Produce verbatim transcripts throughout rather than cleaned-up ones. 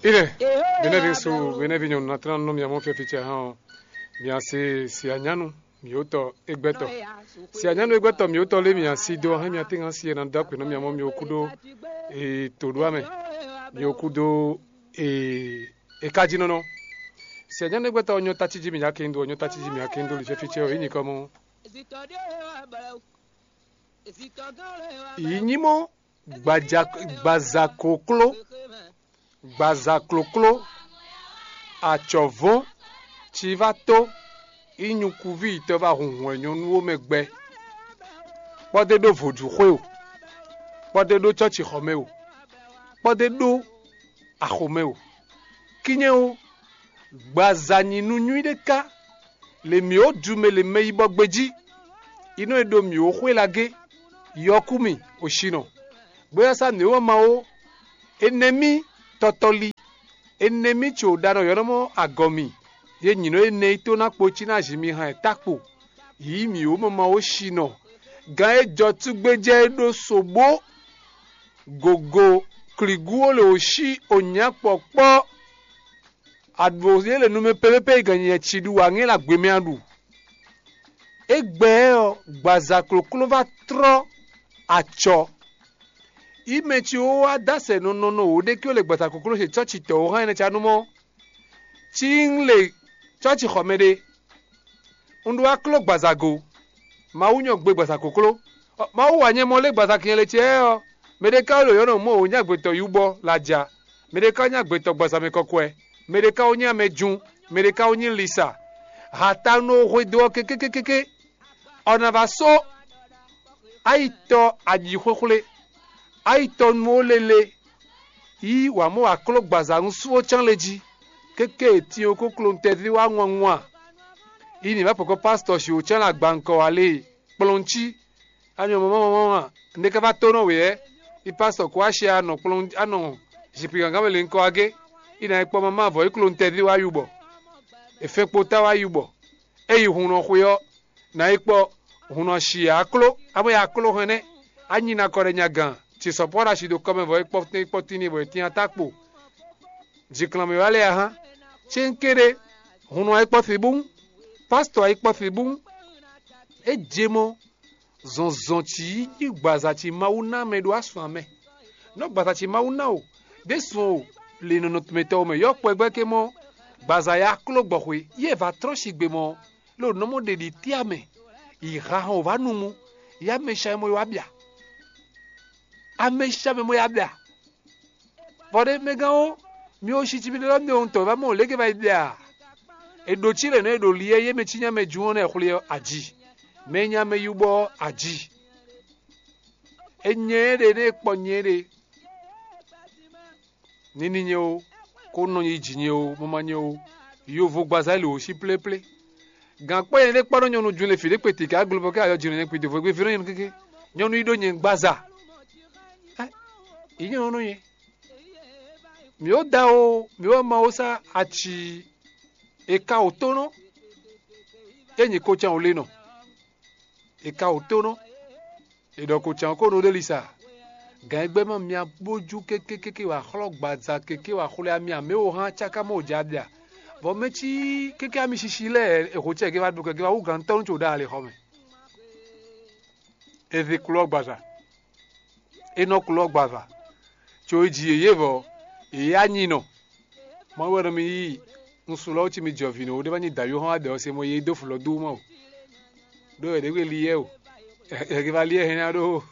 Ine, benɛvi ŋsu, benɛvi nyɔnu, na tlán nú mia mɔ fɛ́fícɛ hán ɔ́, mia se sianyánu mǐtɔn égbɛ́tɔ́. Sianyánu égbɛ́tɔ́ mǐtɔn lé mia sí dó ɔ́, hɛn mia tɛ́nkan sí e ná dó akpě nú mia mɔ mi kú dó e tǒɖuamɛ, mi kú dó e e kájínɔ́nɔ. Sianyánu égbɛ́tɔ́ ɔ́ nyɔ́ tácí jí mǐ yá kéndo, ɔ́ nyɔ́ tácí jí mǐ yá kéndo li fɛ́fícɛ ɔ́, é nyí kɔ mɔ. Yǐ nyí mɔ gbaza kokló, gbaza klókló, acɔ̌vɔ́n, civátó, ínyukúví yětɔn va hun hwɛ̌nyɔ́nú ó mɛ gbɛ, kpɔ́dé ɖó vodúxwé o, kpɔ́dé ɖó cɔ́cixɔ mɛ o, kpɔ́dé ɖó axomɛ o. Kínyɛ ó, gbaza nyi nú nyɔ́ ɖé ká, le mǐ ó ju mɛ le mɛ yi bɔ gbejí, yi nɔ e ɖo mǐ ó xwé lagé, yɔkú mì osinɔ, bóyá sá nǔ e wɛ ma ó, enɛ́ mì tɔtɔli, enɛ́ mì tso ɖanɔ yɔ̌nɔmɔ agɔ mì, ye nyǐnɔ énɛ́ yi tó ná kpo cí ná zi mi hàn ɛ tákpo, yǐ mǐ ó mama ó sinɔ, gǎn e jɔ túgbéjɛ é ɖó sobó, gogo klǐgú ó lě ó sí onyǎ kpɔ̌kpɔ́. Aɖǔ yě le numɛ pépépé yi gǎn nyɛ ci ɖu wǎ ŋɛ́ la gbě mɛ a ɖu. Égbɛ́ ɔ́, gbaza klókló va trɔ́ acɔ. Yi mɛ ci wó wá dó asɛ nɔ nɔ nɔ wǒ ɖé kí ó le gbaza klókló ce cɔ́ci tɔ̌ wó hán ɛnɛ ca nú mɔ́. Cí un le cɔ́ci xɔ mɛ ɖé, un ɖó akló gbaza go. Mawu nyɔ gbe gbaza kokló. Mawu wa nyɛ mɔ lé gbaza kinyɛ le ce ɔ́, mɛ ɖé ka ɖo yɔ̌ nɔ mɔ wǒ nyí agbetɔ yúbɔ laja, mɛ ɖé ka nyí agbetɔ gbaza mɛ kɔkwɛ, mɛ ɖé ka wó nyí amɛjun, mɛ ɖé ka wó nyí lisa. Hatan nɔ hwedó ɔ́ kékékékéké, ɔ na va só ayitɔ aɖǐxwéxwlé, ayitɔ nú ó lélé, yí wǎ mɔ akló gbaza nú sú ó cán le jí, kéké e tin ɔ́ kókló nú tɛ́ví wá ŋwanŋwan. Yi ni vǎ pɔ̌kɔ pásítɔ si wǒ cán le agbankɔ wá lée, kplɔ́n cí. Anyɔ mama mama ma, nde ka va tó nɔ wě ɛ? Yi pásítɔ kó wá shi anɔ kplɔ́n anɔ zikpǐ gangán mɛ le ŋkɔ agé. Yi na yi kpɔ mama vɔ yi kló nú tɛ́ví wá yubɔ. È fɛn kpo ta wá yubɔ. É yi hun nɔ xwe ɔ́, nǎ yi kpɔ́ hun nɔ shi akló, amɔ́ yi akló hɛn nɛ́. Anyi na kɔ ɖɛ nya gǎn, ci sɔ̌ pɔ́ ɖo asi ɖo kɔmɛ vɔ é kpɔ́ tɛ́n kpɔ́ tín n'i bɔ è tyán ta kpo. Jǐklanmɛ wá lɛ́ɛ a hán. Céŋkéɖé, hun nɔ yi kpɔ́ fibún, pásítɔ yi kpɔ́ fibún. É je mɔ zɔnzɔn ci yi nyí gbaza ci Mawu ná mɛ ɖó aswan mɛ. Nɔ gbaza ci Mawu ná o, ɖésú o, le nɔnɔ mɛtɔn mɛ yɔ́ kpɛgbɛ́ ké mɔ gbaza ya kló gbɔxwe, yí è va trɔ́n sigbe mɔ ló nɔ mɔ ɖeɖi tíá mɛ, yi ha hɔn wǎ nu mu, yi amɛsha mɔ yi wá bia. Amɛsha mɛ mɔ yi wá bia. Vɔ ɖé mɛ gán ó, mi ó sí cí mi ɖɔ mi ò ŋutɔ va mɔ léke va yi bia. È ɖǒ cí lě nɔ è ɖo li ɛ yé mɛ cí nya mɛ jún ɔ́ nɛ xwlé ɔ́ aji. Mɛ nya mɛ yú bɔ aji. È nyɛ ɛ ɖe nɛ è kpɔ nyɛ ɛ ɖe. Ní ní nyɛ ó, kó nɔ nyi jǐ nyɛ ó, mama nyɛ ó, yovo gbaza lě wǒ sí pléplé. Gǎn kpɔ́ nyɛ ɖé kpɔ́ nɔ nyɔnu jun le fǐ ɖé kpeti ká glo bɔ ká ayɔ jǐnɔ nyɛ kpiti vo gbé víró nyɛ nú kéké. Nyɔnu yi ɖó nyɛ gbaza. Ɛ, yi nyɔnu nú nyɛ. Mǐ ó da ó, mǐ ó ma ó sá aci e ka wǒ tónɔ, é nyí kocán wǒ le nɔ. È ka wǒ tónɔ, è ɖɔ ko cǎn ko nɔ ɖe lisa. Gǎn e gbɛ́ má mia bó jú kékékéké wǎ xlɔ́ gbaza kéké wǎ xwlé ami amɛ wǒ hán cáká mɔ wǒ jɛ abia. Vɔ mɛ cí kéké ami sisi lɛ́ɛ è xo cɛ gé wá ɖu kɛ gé wá wú gǎn tɔ́ nú co ɖo alixɔ mɛ. È zě kló ɔ́ gbaza, è nɔ kló ɔ́ gbaza, co è ji yě yě vɔ, yě yá nyi nɔ. Mawu wɛ nɔ mi yí un sun lɔ cí mi jɔ vǐ nɔ ɖé va nyi dǎyó hɔn adɛ ɔ́ se mɔ yé dó flu ɔ́ dó má o. Ɖó è ɖě gbe li yɛ o. È va li yɛ hɛn ná ɖó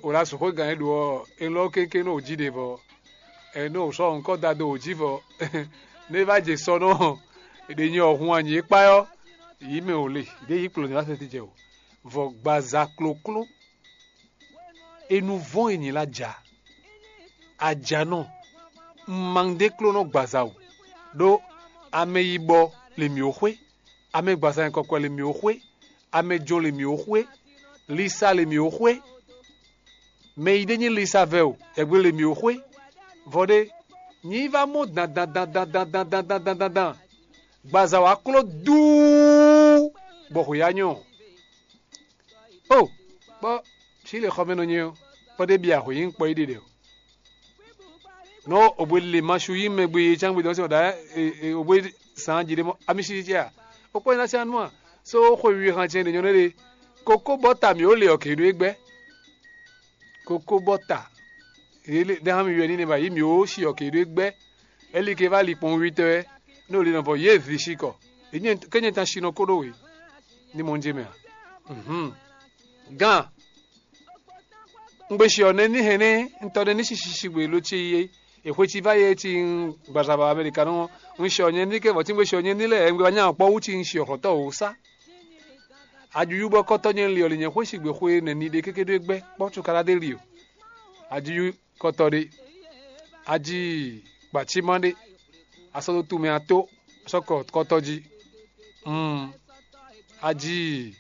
o la sɔn xwé gǎn e ɖo ɔ́, è lɔ kéké nɔ wǒ jí ɖe vɔ. È nɔ sɔ ŋkɔ da do wǒ jí vɔ. Nɛ é va jɛ sɔ nɔ, è ɖe nyi ɔhun anyǐ é kpá ɔ́, yǐ mɛ ò le, ɖě yǐ kplɔ̌n ní wá sɛn tijɛ o. Vɔ gbaza klókló e nu vɔ́n e nyǐ la ja. Ajanɔ, un ma ɖe kló nɔ gbaza o, ɖó amɛ yi bɔ le mǐ ó xwé, amɛ gbaza nyɛ kɔkɔ le mǐ ó xwé, amɛ jɔn le mǐ ó xwé, lisa le mǐ ó xwé, mɛ yi ɖé nyí lisa vɛ o, yɛgbe le mǐ ó xwé. Vɔ ɖé, nyi yi va mɔ dandandandandandandandandan, gbaza wá kló duu, bɔ xwě ya nyɔ. O, kpɔ́, fí le xɔmɛnɔ nyɛ ɔ́, kpɔ́ ɖé bia hweyǐnkpɔ́ yi ɖe ɖe o. Nɔ obwe le ma su yi mɛ gbe ye can gbe dɔn se ɔda obwe san ji ɖe mɔ ami si ce a. Okpɔ yin na se anu a. So xwe wi han cɛ ɖe nyɔ ne ɖe. Koko bɔ ta mi o le ɔ ke ɖo egbɛ. Koko bɔ ta. Ɖe hã mi yɔ ni ne ba yi mi o si ɔ ke ɖo egbɛ. Eli ke va li kpɔn wi tɔ ɛ. Ne o li nɔ vɔ ye vi si kɔ. Ke nyɛ tan si nɔ ko ɖo we. Ni mɔ n je mɛ a. Gan. Un gbe xyɔ nɛní hɛn nɛ́, un tɔ nɛní sisi sigbe lo ce yi é. È xwe ci va yɛ ci un gbaza ba Amɛlikanɔ ɔ́, un xyɔ nyɛ ní kɛ vɔ̌ tí un gbe xyɔ nyɛ ní lɛ́ɛ, un gbe wá nya kpɔ́ wú ci un xyɔ xɔ̌tɔ́ wǒ sá. Aɖuɖu bɔ kɔtɔ́ nyɛ li ɔ́ li nyɛ xwé sigbe xwe nɛní ɖé kéké ɖó é gbɛ́ kpɔ́ cukaɖa ɖé li o. Aɖuɖu kɔtɔ́ ɖé, aji kpacímá ɖé, a sɔ́ dó tunwun mɛ ató sɔ́ kɔ kɔtɔ́ jí. Mm, aji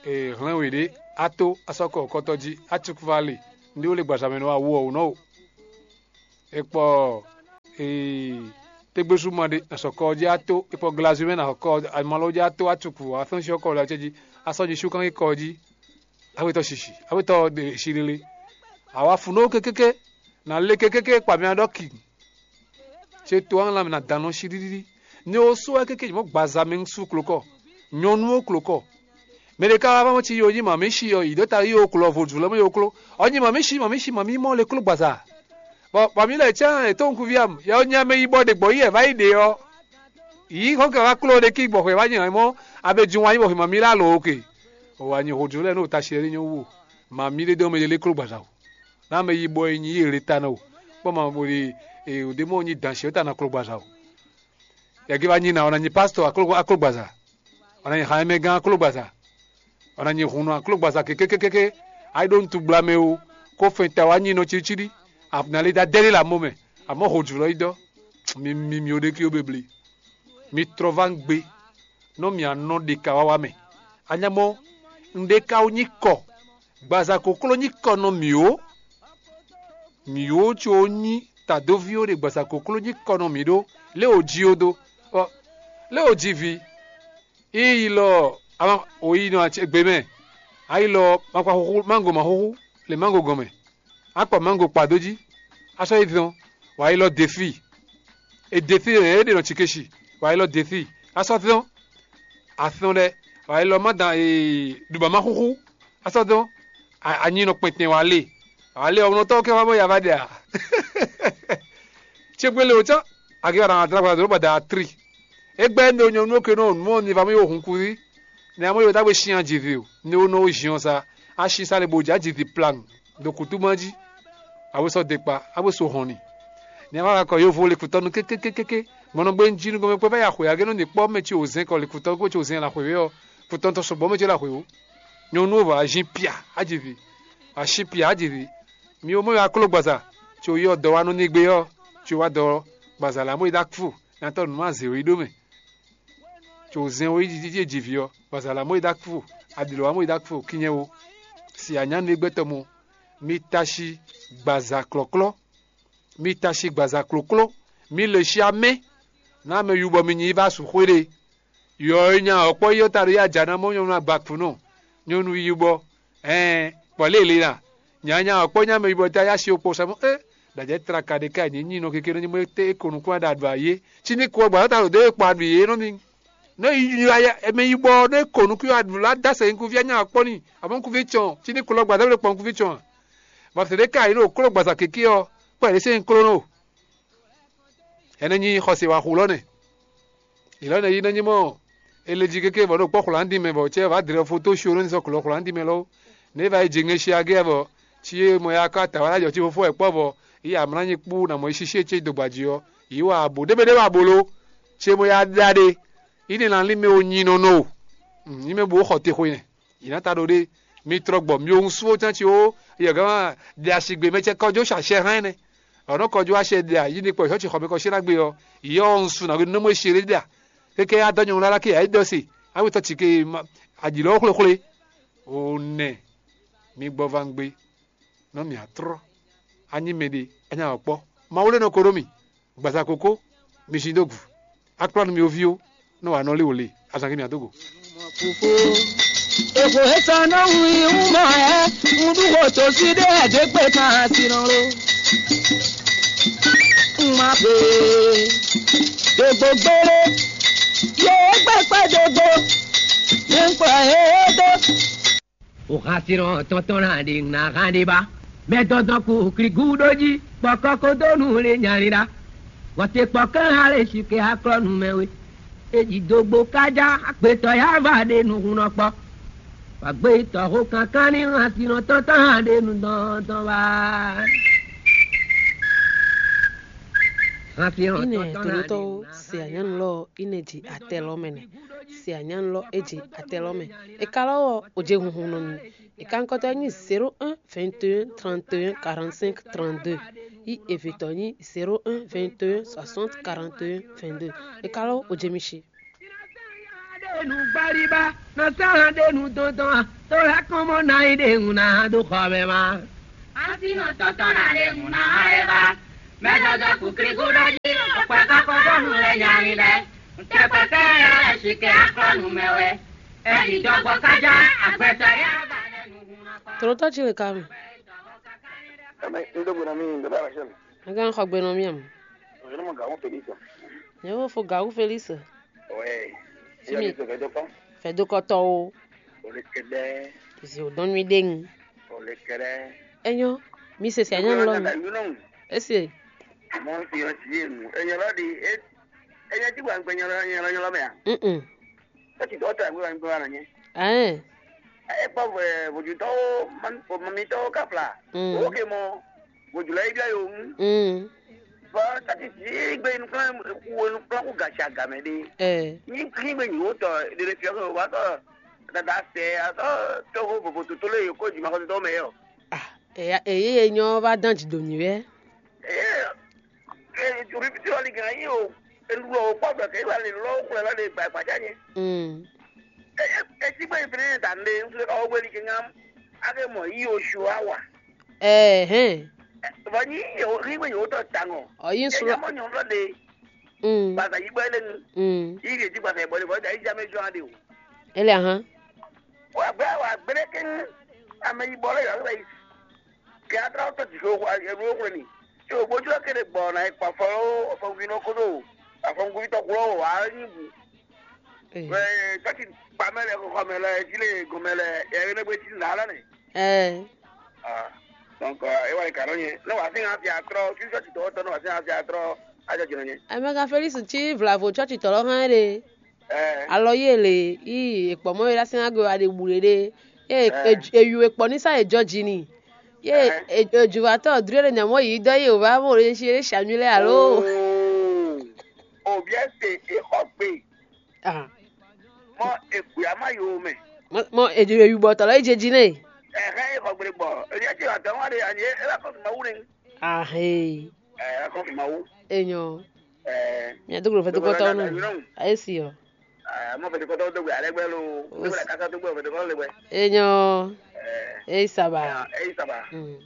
e hlɛ́n we ɖě, a tó a sɔ́ kɔ kɔtɔ́ jí, a cukú va le, nɖé ó le gbazamɛ nɔ awu ɔ́ wǔ nɔ o. E kpɔ ee tégbésú ma ɖé nɔ sɔ kɔ ɔ́ jí, a tó e kpɔ glazu mɛ nɔ sɔ kɔ ɔ́, amalɔ jí, a tó a cukú a fɛ́n cyɔ kɔ lɛ acɛ jí, a sɔ́ jí sú kán kɔ ɔ́ jí, a wetɔ sisi, a wetɔ ɖe si lele. Awa fun nɔ kékéké, nà le kékéké kpa mɛ a ɖɔ ki. Ce to ɔ́ lanmɛ ná dán nɔ sí ɖíɖíɖí. Ní ó sú wɛ kéké mɔ gbaza mɛ sú klokɔ, nyɔnu ó klokɔ. Mɛ ɖé ká wá mɔ ci yo nyí mami sí ɔ, yi ɖó ta yi ó klɔ vodù lɔ mɔ yo kló. Ɔ nyí mami sí, mami sí, mami mɔ le kló gbaza. Bɔ mami lɛ cán è tó nukúnví am, yɛ ɔ nyí amɛ yi bɔ ɖe gbɔ yi ɛ va yi ɖe ɔ. Yi xɔ kɛ wá kló ɖe kí gbɔ xwe wá nyɛ mɔ abe jun wá nyí bɔ xwe mami la lo oke. O wá nyí vodù lɛ ní o ta si lɛ ní nyɔ wú o. Mami ɖé dɔn mɛ ɖé le kló gbaza o. Ná mɛ yi bɔ yi nyi yi le ta nɔ o. Kpɔ ma bo ɖe e o ɖe mɔ nyi dan si o ta na kló gbaza o. Yɛgi va nyi na, ɔ na nyi pastor akló akló gbaza. Ɔ na nyi xamɛ gán akló gbaza. Ɔ na nyi hunu akló gbaza kékékékéké. Ayi ɖo ntu gbla mɛ o. Ko fɛn ta wa nyi nɔ ciɖiɖi. Abnali da dɛli la mo mɛ. Amɔ ho jù lɔ yi dɔ. Mi mi mi o ɖe ki o bebli. Mi trɔ va n gbe. Nɔ mi anɔ ɖe ka wa wa mɛ. Anyamɔ n ɖe ka wo nyi kɔ. Gbaza kokló nyí kɔ nɔ mǐ ó. Mǐ ó có nyí tadóví ó ɖe gbaza kokló nyí kɔ nɔ mǐ ɖó. Lé o jí ó dó. Ɔ, lé o jí vi. Íyi lɔ ama o yi nɔ gbe mɛ. Ayi lɔ makpa xúxú mango ma xúxú le mango gɔn mɛ. Akpɔ mango kpa dó jí. Asɔ yi dɔn. Wa yi lɔ defi. E defi e ɖe nɔ tsikesi. Wa yi lɔ defi. Asɔ dɔn. Atɔn ɖɛ. Wa yi lɔ ma dan e ɖuba ma xúxú. Asɔ dɔn. Anyi nɔ kpɛntɛn wa le. Wa le ɔmlɔtɔ kɛ wa bɔ ya va ɖe a. Tse gbele o tsɔ. Agi wa na adra gba dro ba da tri. Egbɛ ndo nyɔnu ke nɔ nu ni va mɔ yo hun kuzi. Ne amɔ yo dagbe shian jivi o. Ne o nɔ o jiɔn sa. A shi sa le bo ja jivi plan. Do kutu ma ji. A bo sɔ dekpa. A bo so hɔn ni. Ne a va kɔ yovo le kutɔnu kekekekeke. Mɔnɔ gbe nji nu gɔmɛ kpɛ va ya xwe age nɔ ni kpɔ mɛ ci o zɛn kɔ le kutɔnu ko ci o zɛn la xwe we ɔ. Kutɔnu tɔ sɔgbɔ mɛ ci la xwe o. Nyɔnu va a zin pia a jivi. A shi pia a jivi. Mi o mɔ yo aklo gbaza. Ci o yɔ dɔ wa nɔ ni gbe ɔ. Ci o wa dɔ gbaza la mo yi da kfu. Nyatɔ nu ma ze o yi ɖo mɛ. Tso zɛn wo yi ɖiɖi ɖíe ji vǐ ɔ́, bɔ azǎn lá mɔ yi dó akúfo, aɖǐlɔ́ wá mɔ yi dó akúfo kínnyɛ ó. Si anyǎnu e gbɛtɔ́ mɔ, mi ta si gbaza klɔ̌klɔ́, mi ta si gbaza klǒkló, mi lě si amɛ, ná mɛ yubɔ mi nyi yi va su xwé ɖé. Yɔ e nya ɔ̌ kpɔ́ yi ɔ́ ta ɖo yi aja ná mɔ nyɔ̌nu agbakúnɔ, nyɔ̌nu yibɔ, ɛɛn, kpɔ̌ lě e le ná. Nya nya ɔ́ kpɔ́ nya mɛ yibɔ ta yá si okpo sɛmɔ é, ɖajɛ tlaka ɖe ká nyǐ nyi nɔ kéké nɔ nyi mɔ é ko nukún aɖa ɖu ayé. Cí ní ko ɔ́ gbǎ ta ɖo dó e kpa ɖu yě nɔ ní. Nɔ yi yi ya mɛ yibɔ nɔ é ko nukún aɖu lá dá sɛ nukúnví anya kpɔ́ n'i, abɔ nukúnví cɔn, cí ní ko lɔ gbǎ dá wle kpɔ nukúnví cɔn a? Bɔ sɛ ɖé ká yi nɔ kló gbǎza kéké ɔ́, kpɔ yě ɖésé nyi kló nɔ. Ɛnɛ nyi xɔse wa xu lɔ nɛ. Ilɔ nɛ yi nɔ nyi mɔ ele jí kéké bɔ ɖo kpɔ xwlǎndin mɛ bɔ cɛ va dlɛ foto sio nɔ ni sɔ klɔ xwlǎndin mɛ lɔ. Ne va yi jingɛn si agɛ bɔ ci e mɔ ya ka ta wa jɔ ci fofo ɛ kpɔ bɔ yi amla nyi kpú na mɔ yi sisi ce do gbaji ɔ, yi wa abo ɖebe ɖe wa bolo. Ce mɔ ya da ɖe yi ne na lin mɛ o nyi nɔ nɔ o. Nyi mɛ bo xɔ te xwe nɛ. Yi na ta ɖo ɖe mi trɔ gbɔ mi o ŋu suwo tán ci o. Yɛ gama ɖe asigbe mɛ cɛ kɔjó sasɛ hán nɛ. Ɔnɔ kɔjó asɛ ɖe a yi ni kpɔ xɔ ci xɔ mɛ kɔ si na gbe ɔ, yi ɔ ŋu su na nɔ mɔ esi ɖe ɖe a. Keke adɔ nyɔnu lala ke ayi dɔ se. Awi tɔ ci ke aɖi lɔ xwlexwle. O nɛ mi gbɔ va ŋgbe. Nɔ mi atrɔ. Anyi mɛ ɖe anya wɔ kpɔ. Mawu lɛ nɔ ko ɖo mi. Gbaza koko mi sin dó gu. Akplɔ́ nú mi oví ó, nú wǎ nɔ lé wò le, azǎn kí mi adógo. Èkó ètò náà wù í wù mọ́ ẹ́, ń dúró tó sí dé ẹ̀dẹ́gbẹ́ kan àti rán ló. Má be dogbo gbére, yě gbɛkpɛ dogbo, yě ń kplɔ yě dó. Òhasínɔ tɔntɔn na ɖe ŋu na hán ɖé ba. Mɛ dɔdɔ kú klikú ɖó jí, kpɔkɔ ko dó nú lé nyalila. Wɔte kpɔkɔ ha lé si ke aklɔ nu mɛ we. Eji dogbo kájá, agbetɔ ya va ɖe nu hun nɔ kpɔ. Wàgbé tɔxó kankan ní hán sínɔ tɔntɔn hán ɖe nu dɔndɔn wá. Hán sínɔ Ine tɔntɔn hán ɖe tolótɔwo nu se anyanu lɔ ine ji atɛ lɔ mɛ nɛ. Se anyanu lɔ e ji atɛ lɔ mɛ. E ka lɔ wɔ o je hunhun nɔ mi. E ka nkɔtɔ nyi zéro un vingt et un trente et un quarante-cinq trente-deux. Yi evetɔ nyi zéro un vingt et un soixante quarante et un vingt-deux. E ka lɔ o je mi si. Nǔgbaliba nɔ sɔ́ hán ɖe nú dɔndɔn a, tó lɛ́ kɔn mɔ ná yi ɖe ŋu ná hán dó xɔ mɛ ma. Asi nɔ tɔtɔ ná ɖe ŋu ná hán é ba. Mɛ dɔdɔ kukliku ɖɔ jí, kpɛ kɔkɔ dó nu lɛ nyali lɛ. Tɛkpɛ kɛ yɛ lɛ si kɛ aklɔ nu mɛ wɛ. Ɛdi dɔgbɔ kájá, agbɛtɔ yɛ ba lɛ nu hun nɔ kɔ. Tlotɔ ci le ka mi. Ame ŋɖo gbe nɔ mì, ŋɖo ɖo alɔ sɛn. Aga xɔ gbe nɔ mì am. Ɔyɔnɔ mɔ gawun Felix. Nyɛ wo fo gawu Felix. Ouais. Si mi. Fɛdokɔ. Fɛdokɔtɔ o. Olekɛdɛ. Zi o dɔn mi ɖe ŋu. Olekɛdɛ. Enyo, mi se se anyɔ lɔ mi. Ese. Mɔ si yɔ si yenu. Enyo lɔ di e. Enyo ti gba gbɛ nyɔ lɔ nyɔ lɔ mɛ a. Mm. Esi dɔ ta gbe gbe na nye. Ayen. E kpɔ vɛ vodutɔwo man o mitɔwo ka fla. Mm. O ke mɔ vodula yi bia yo mu. Mm. Bɔ tati si gbe nukplan ku nukplan ku gaci agamɛ de. Eh. Ni kí gbe nyi wo tɔ ɖeɖe fiɔ ko wa tɔ dada sɛ atɔ tɔxo vovo toto le ko juma ko tɔ mɛ yɔ. Ah, eya eye ye nyɔ va dán dzi do mì wɛ. Eye e obi fiti wali gan yi o elu o kpɔ bɛ ke wali lɔ xlɛ lɔ de gba gba ja nye. Mm. E e ti gbe fini ta nde nsu ka o gbeli ke ngam ake mɔ yi o shu awa. Eh, hɛn. Bɔ nyi yi o ri gbe yo tɔ tangɔ. Ɔ yi sura. Mo nyɔ lɔ de. Mm. Basa yi gbɛ le nu. Mm. Yi de ti basa bɔ le bɔ da yi jame jɔ ade o. Ele ahan. Wa gbɛ wa gbɛ ke ame yi bɔ le yɔ le. Kɛ a tlɔ tɔ́ jǐxwé xo, e nú xwlé ni. Tso gbójú ɔ́ kéde gbɔ ná yi kpa fɔ ó, afɔngunvínɔ kódó afɔngunvítɔ́ kú ɔ́ wǎ nyí bǔ. Ee. Wɛ tɔ́ ti kpa mɛ lɛ xɔxɔ mɛ lɛ, jí lɛ gɔn mɛ lɛ, yɛ énɛ́ gbé cí nǎ lɔ nɛ. Ɛɛ. Ah, donc, é wá yi kǎ nɔ nyɛ. Nɔ wǎ sín hàn fi atrɔ, fífí tɔ́ ti tɔ́ tɔ́ nɔ wǎ sín hàn fi atrɔ, á jɔ jǐnɔ nyɛ. Amɛga Felix cí vlavo tsɔ́tsitɔ́ lɔ hán ɖe. Ɛɛ. Alɔ yi e lě yi è kpɔ mɔ é ɖo así ná gbe wá ɖe bǔ ɖé ɖé. Ye Ɛɛ. È ju è kpɔ ní sá è jɔ ji n'i. Ye Ɛɛ. È ju wá tɔ́ dlú ɖé nyamɔ yi dɔ yi wòvá mɔ ɖé si ɖé sami lɛ alo. Oo. O biɛ se e xɔ gbe. Ah. Mɔ e gbe ama yo mɛ. Mɔ mɔ è ju è yu bɔ tɔlɔ yi je ji nɛ. Ɛhɛ e xɔ gbe bɔ. E yɛ ti wa dɔn wa de ani e la kɔ ma wu ne. Ahe. Ɛɛ kɔ ma wu. Enyo. Ɛɛ. Mia dugro fɛ dugro tɔnu. Ayesi yo. Mɔ fɛtɛ kɔtɔ dogbe alɛ gbɛ lo. Dogbe la kasa dogbe fɛtɛ kɔtɔ le gbɛ. Enyo. Eyi saba. Eyi saba. Mm.